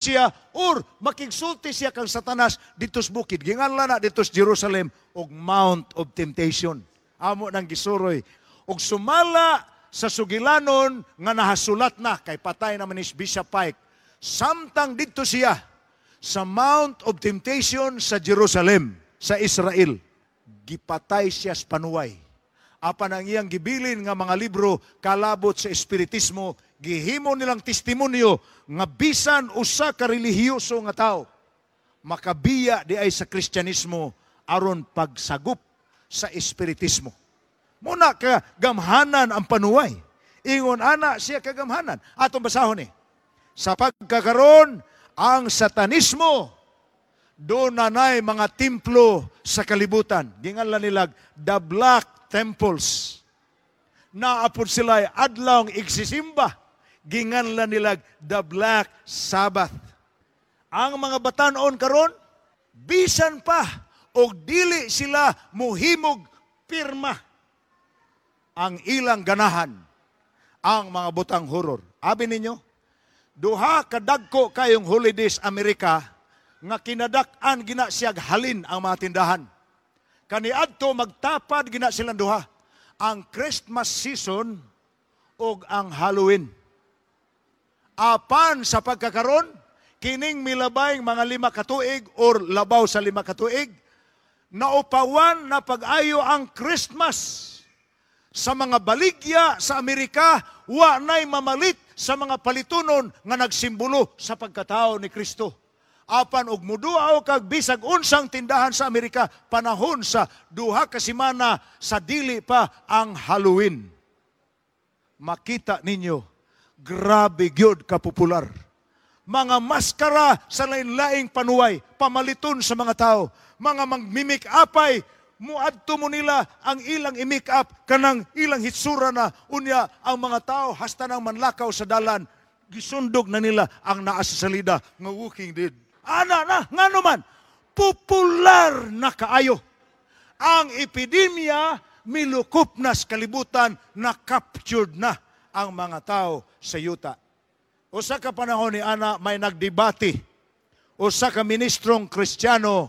Siya or makigsulti siya kang Satanas dito sa bukid. Ginganlan na dito sa Jerusalem og Mount of Temptation. Amo nang gisuroy. Og sumala sa sugilanon nga nahasulat na kay patay naman ni Bishop Pike. Samtang didto siya sa Mount of Temptation sa Jerusalem, sa Israel, gipatay siya sa panuway. Apan ang iyang gibilin nga mga libro kalabot sa espiritismo, gihimo nilang testimonyo nga bisan usa ka relihiyoso nga tao makabiya diay sa Kristyanismo aron pagsagop sa espiritismo. Muna ka gamhanan ang panuway. Ingon ana siya kagamhanan. Atong basahon ni. Sa pagkakaron, ang satanismo dunay mga templo sa kalibutan. Ginganlan nilag the Black Temples. Naa pod sila adlaw igsisimba. Ginganlan nilag the Black Sabbath. Ang mga batanon karon, bisan pa og dili sila muhimog pirma, ang ilang ganahan ang mga butang horror. Abi ninyo, duha kadagko kayong holidays Amerika nga kinadak-an gina siyag halin ang mga tindahan. Kaniadto magtapad gina silang duha. Ang Christmas season ug ang Halloween. Apan sa pagkakaron, kining milabay mga 5 ka tuig or labaw sa 5 ka tuig, naupawan na pag-ayo ang Christmas sa mga baligya sa Amerika, wa na'y mamalit sa mga palitunon nga nagsimbolo sa pagkatao ni Kristo. Apan og muduaw kag bisag unsang tindahan sa Amerika panahon sa 2 ka semana sa dili pa ang Halloween, makita ninyo, grabe gyud kapopular mga maskara sa lain-laing panuway, pamaliton sa mga tao, mga magmi-make upay, muadto mo nila ang ilang i-make up kanang ilang hitsura na unya ang mga tao hasta nang manlakaw sa dalan, gisundog na nila ang naa sa salida nga walking dead. Ana na, ngano man, popular na kaayo. Ang epidemya milukop na sa kalibutan, na captured na ang mga tao sa yuta. Usa ka panahon ni ana, may nagdebate usa ka ministrong Kristiyano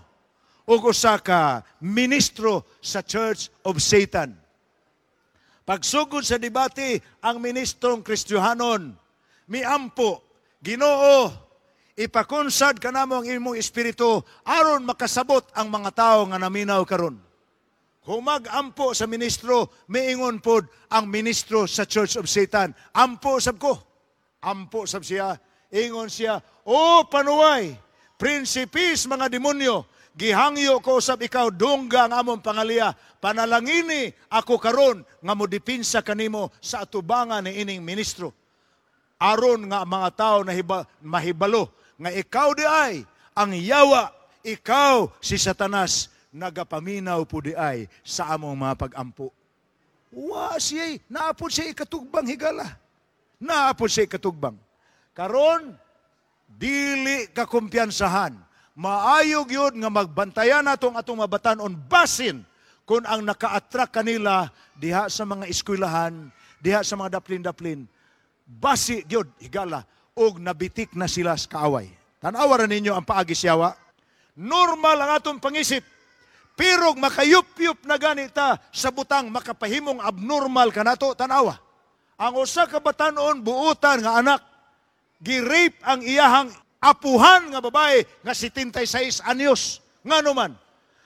ug usa ka ministro sa Church of Satan. Pagsugod sa debate, ang ministrong Kristiyanon miampo, "Ginoo, ipakonsad kanamo ang imong espiritu aron makasabot ang mga tao nga naminaw karon." Humag-ampo sa ministro, miingon pod ang ministro sa Church of Satan, "Ampo sab ko." Ampo sab siya. Ingon siya, "O panuway, prinsipis mga demonyo, gihangyo ko usab ikaw dungga ang among pangaliya. Panalangini ako karon nga modipinsa kanimo sa atubangan ni ining ministro. Aron nga ang mga tao na mahibalo nga ikaw di ay ang yawa, ikaw si Satanas, nagapaminaw po di ay sa among mga pag-ampo." Wa siya, naa pod siya ikatugbang, higala. Naa pod siya ikatugbang. Karon, dili ka kumpiyansahan. Maayo gyud nga magbantayan natong atong mabatanon basin kung ang naka-attract kanila diha sa mga eskwelahan, diha sa mga daplin-daplin. Basi gyud, higala, og nabitik na sila sa kaaway. Tan-awa ra ninyo ang paagi sa yawa. Normal ang atong pangisip. Pero makayupyup na ganita sa butang makapahimong abnormal kanato, tanawa. Ang usa ka batanon buutan nga anak, gi-rape ang iyahang apuhan nga babae nga 76 anyos. Ngano man,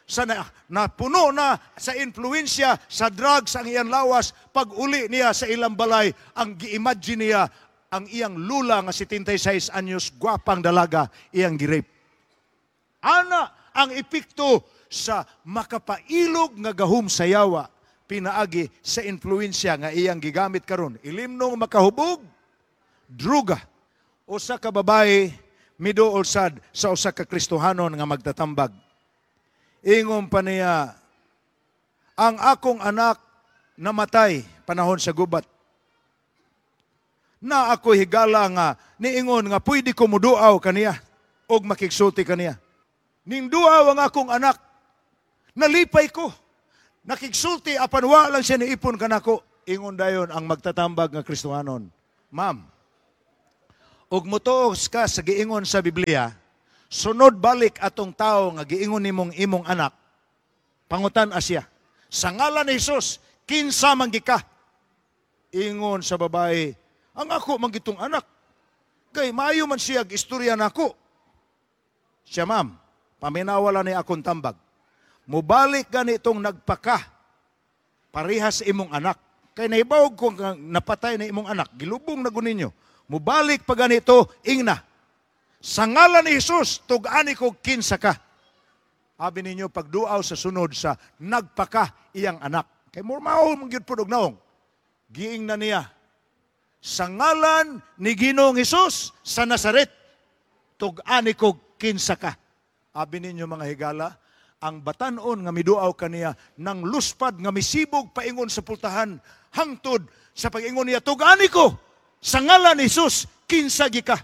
sa napuno na sa influensya sa drugs ang iyang lawas, pag uli niya sa ilang balay, ang gi-imagine niya ang iyang lula nga 76 anyos, gwapang dalaga, iyang gi-rape. Ana ang epekto sa makapailog nga gahom sa yawa pinaagi sa influensya nga iyang gigamit karon. Ilimnong makahubog, druga. Usa ka babae miduol sad sa usa ka Kristohanon nga magtatambag. Ingon pa niya, "Ang akong anak namatay panahon sa gubat. Na ako higala nga niingon nga pwede ko muduaw kaniya og makigsulti kaniya. Ning duaw ang akong anak, nalipay ko. Nakigsulti apan wa lang siya niipon kanako." Ingon dayon ang magtatambag nga Kristohanon, "Ma'am, Ug motuo ka sa giingon sa Biblia, sunod balik atong tao nga giingon nimong imong anak, pangutan siya. "Sa ngalan ni Jesus, kinsa man ka?" Ingon sa babae, "Ang ako man gitong anak. Kay maayo man siya istorya nako." Siya, "Ma'am, paminawa ni akong tambag. Mubalik ganitong nagpaka, parehas sa imong anak. Kay nahibaw ko nga napatay na imong anak, gilubong na ninyo. Mubalik pa ganito, ingna. Sa ngalan ni Jesus, tug-ani ko kinsa ka." Abi ninyo, pagduaw sa sunod sa nagpaka iyang anak. Kay mao man gyud pud og naong. Giing na niya, "Sa ngalan ni Ginoong Hesus sa Nazaret, tug-ani ko kinsa ka." Abi ninyo, mga higala, ang batanon nga miduaw kaniya nang luspad nga misibog paingon sa pultahan hangtod sa pag-ingon niya, "Tug-ani ko sa ngalan ni Jesus, kinsa gi ka."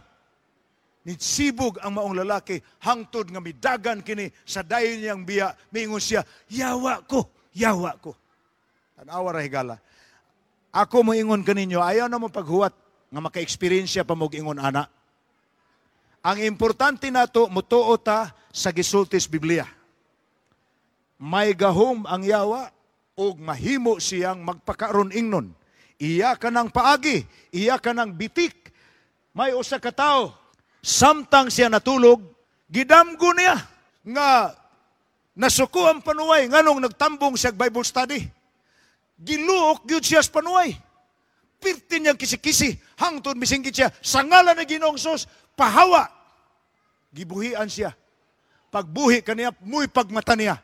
Nisibog ang maong lalaki hangtod nga midagan kini sa dayon niyang biya, miingon siya, "Yawa ko, yawa ko." Tanawa ra, higala. Ako moingon kaninyo, ayaw na mo paghuwat nga maka-eksperyensya pa mo ingon ana. Ang importante nato, mutuo ta sa gisultis Biblia. May gahom ang yawa ug mahimo siyang magpakaron ingnon. Iya ka ng paagi, iya ka ng bitik. May usa ka tawo, samtang siya natulog, gidamgo niya nga nasuko ang panuway nganong nagtambong siya Bible study. Giluok gyud siya sa panuway. Pirti niyang kisi-kisi, hangtod misinggit siya, "Sa ngalan ni Ginoong Sus, pahawa!" Gibuhian siya. Pagbuhi kaniya, muy pagmata niya.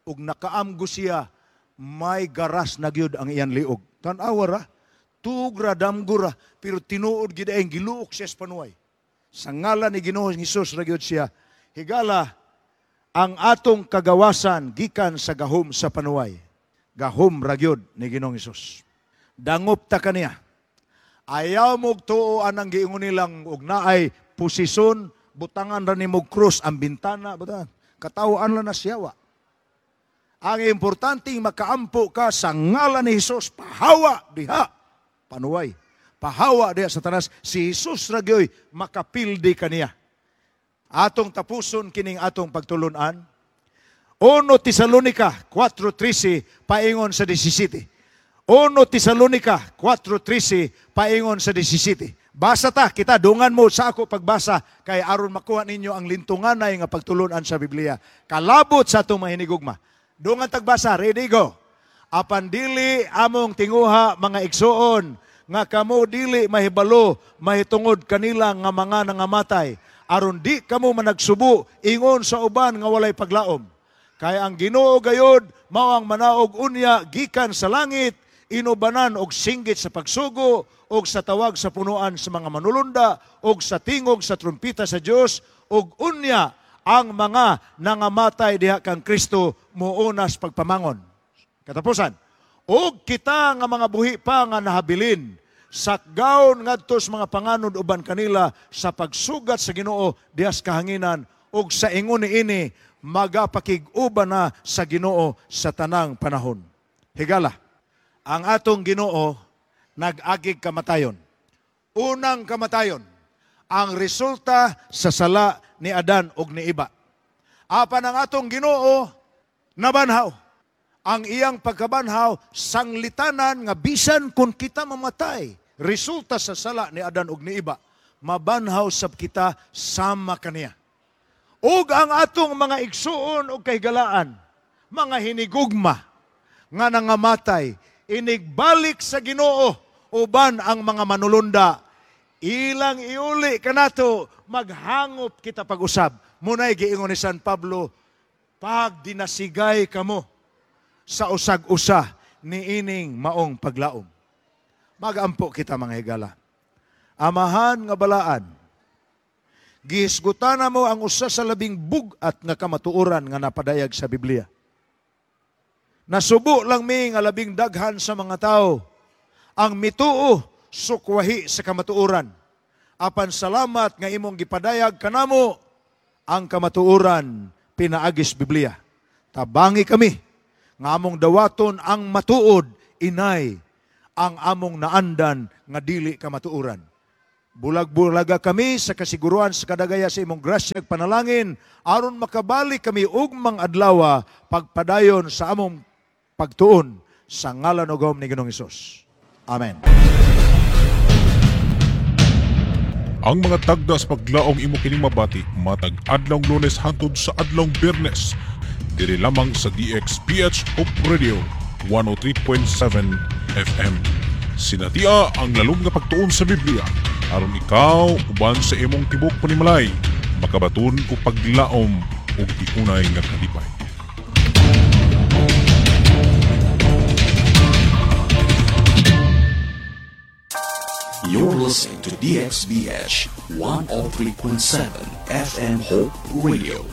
Ug nakaamgo siya, may garas na gyud ang iyang liog. Tan-awa ra, tugra damgo ra, pero tinuod gid ay giluok siya sa panuway. Sa ngalan ni Ginoong Hesus ra gyud siya. Higala, ang atong kagawasan gikan sa gahom sa panuway. Gahom ra gyud ni Ginoong Hesus. Dangop ta kaniya. Ayaw mo tuo anang giingon nilang og naay posisyon, butangan ra nimo krus ang bintana, butangan. Katawaan lang na siyawa. Ang importante, makaampo ka sa ngalan ni Hesus, pahawa diha panuway. Pahawa diha Satanas, si Jesus ra gyoy makapildi kaniya. Atong tapuson kining atong pagtulunan. 1 Tesalonica 4:13 paingon sa 17. 1 Tesalonica 4:13 paingon sa 17. Basa ta kita, dungan mo sa ako pagbasa kay aron makuha ninyo ang lintunganay nga pagtulunan sa Biblia. Kalabot sa atong mahinigugma. Dungan tagbasa, ready, go. Apan dili among tinguha, mga igsuon, nga kamo dili mahibalo mahitungod kanila nga mga nangamatay, aron di kamo managsubo ingon sa uban nga walay paglaom. Kay ang Ginoo gayod mao ang manaog unya gikan sa langit, inubanan og singgit sa pagsugo og sa tawag sa punuan sa mga manulunda og sa tingog sa trumpita sa Dios, ug unya ang mga nangamatay diha kang Kristo muunas pagpamangon. Katapusan, ug kita nga mga buhi pa nga nahabilin, sakgaon ngadto sa mga panganod uban kanila sa pagsugat sa Ginoo diha sa kahanginan, ug sa ingon niini magapakig-uban na sa Ginoo sa tanang panahon. Higala, ang atong Ginoo nag-agig kamatayon. Unang kamatayon, ang resulta sa sala ni Adan ug ni Eva. Apan ang atong Ginoo nabanhaw. Ang iyang pagkabanhaw sanglitanan nga bisan kung kita mamatay, resulta sa sala ni Adan ug ni Eva, mabanhaw sab kita sama kaniya. Ug ang atong mga igsuon ug kahigalaan, mga hinigugma nga nangamatay, inigbalik sa Ginoo uban ang mga manulunda, ilang iuli kanato, maghangop kita pag-usab. Munay giingon ni San Pablo, pag dinasigay kamo sa usag-usa niining maong paglaom. Magampo kita, mga higala. Amahan nga balaan, gihisgutan mo ang usa sa labing bug-at nga kamatuoran nga napadayag sa Biblia. Nasubo lang mi nga labing daghan sa mga tao ang mituo sukwahi sa kamatuoran. Apan salamat nga imong gipadayag kanamo ang kamatuoran pinaagis Biblia. Tabangi kami nga among dawaton ang matuod inay ang among naandan nga dili kamatuoran. Bulag-bulaga kami sa kasiguruan sa kadagaya sa imong grasya ug panalangin aron makabalik kami ugmang adlaw pagpadayon sa among pagtuon sa ngalan ug gahom ni Ginoong Hesus. Amen. Ang mga tagda sa paglaong imo kining mabati matag adlawng Lunes hangtod sa adlawng Biyernes diri lamang sa DXPH Hope Radio 103.7 FM. Sinatia ang lalom nga pagtuon sa Biblia aron ikaw uban sa imong tibok panimalay makabaton og paglaom ug tiunay nga kalipay. You're listening to DXBH 103.7 FM Hope Radio.